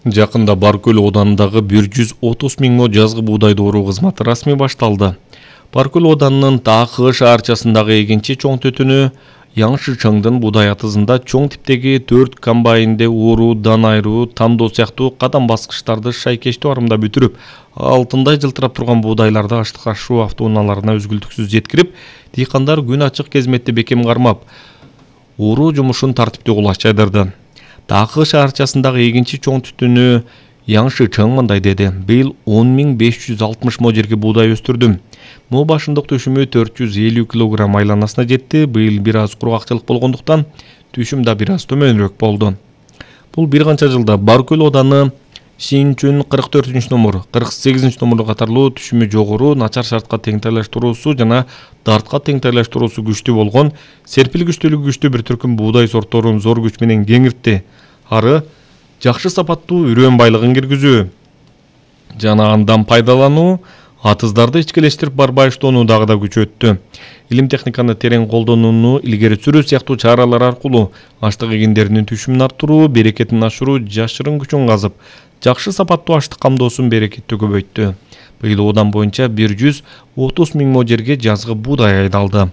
Жакында Баркөл оданындагы 130 миң мо жазгы буудай дооруу кызматы расмий башталды. Баркөл оданынын Таакы шаарчасындагы эгинчи чоң төтүнү Яңшы-Чыңдын буудай атызында чоң типтеги 4 комбайнде ууруу, дан айыруу, тамдоо сыяктуу кадам баскычтарды шайкештүү арымда бүтүрүп, алтындай жылтырап турган буудайларды аштык ашуу автоунааларына үзгүлтүксүз жеткирип, дыйкандар күн ачык кезметти бекем кармап, ууруу жумушун тартиптүү кулаш жайдырды. Таакы шаарчасындагы эгинчи чоң түтүнү Яңшы-Чың мындай деди: быйыл 10.560 мо жерге буудай өстүрдүм. Мо башындык түшүмү 450 килограмм айланасына жетти. Быйыл бир аз кургакчылык болгондуктан түшүм да бир аз төмөнүрөөк болду. Бул бир канча жылда Баркөл оданы Шинчүн 44-номер, 48-номер катарлуу түшүмү жогору, начар шартка теңтайлаштыруусу жана дартка теңтайлаштыруусу күчтүү болгон, серпилгичтүүлүгү күчтүү бир түркүм буудай сортторун зор күч менен кеңиртти. Ары жакшы сапаттуу үрөөн байлыгын киргизүү жана андан пайдалануу, атыздарды ичкилештирип барбайыштоону дагы да күчөттү. Илим техниканы терең колдонууну илгери сүрүү сыяктуу чаралар аркылуу аштык эгиндеринин түшүмүн арттыруу, берекетин ашыруу жашырын күчүн казып, жакшы сапаттуу аштык камдоосун берекеттүү көбөйттү. Быйыл одан боюнча 130 миң мо жерге жазгы буудай айдалды.